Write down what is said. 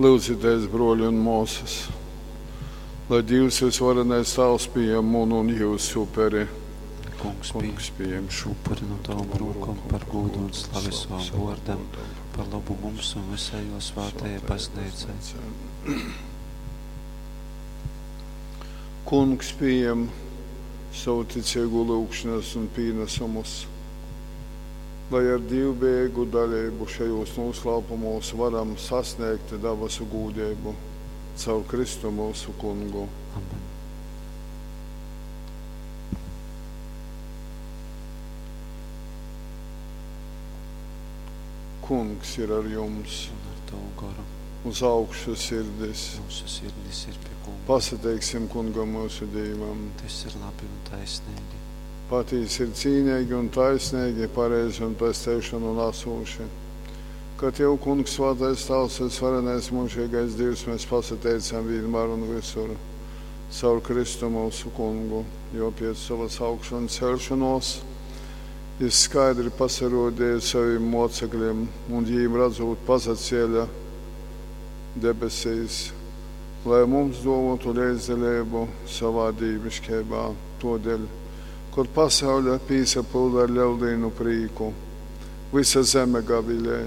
Lyudzitēs, bruoļi un muosys, lai Dīvs vysvarenais Tāvs pījam munu un jyusu uperi. Kungs, Kungs, pījem pījem šo upuri nu tavom rūkom par gūdu un slavi savam vōrdam, par lobu mums un visai jō svātajai Bazneicai. Kungs pījem savu ticīgo lyugšanas un pīnesumus, lai ar dīvbejīgu daleibu šajos noslēpumos varam sasniegt dabasu gūdību caur Kristu mūsu Kungu. Amen. Kungs ir ar jums, Un ar tavu goru uz augšu sirdis. mūsu sirdis ir pie Kunga. Pasateiksim Kungam mūsu Dīvam. Tas ir labi un taisnīgi. Patīsi ir cīnīgi un taisnīgi, pareizi un pesteišanu nesūši. Ka Tev, Kungs, svētais Tavs, visvarenais mūžīgais Dievs, mēs pasateicam vienmēr un visur, caur Kristu mūsu Kungu, jo pēc savas augšanas celšanos jis skaidri pasarodīja saviem mocekļiem un jīm redzot pazacēla debesīs, lai mums dotu līdzdalību savā dīvišķībā. Todēļ, kur pasaule pīsapilda ar lieldīnu prīku, visa zeme gavilē.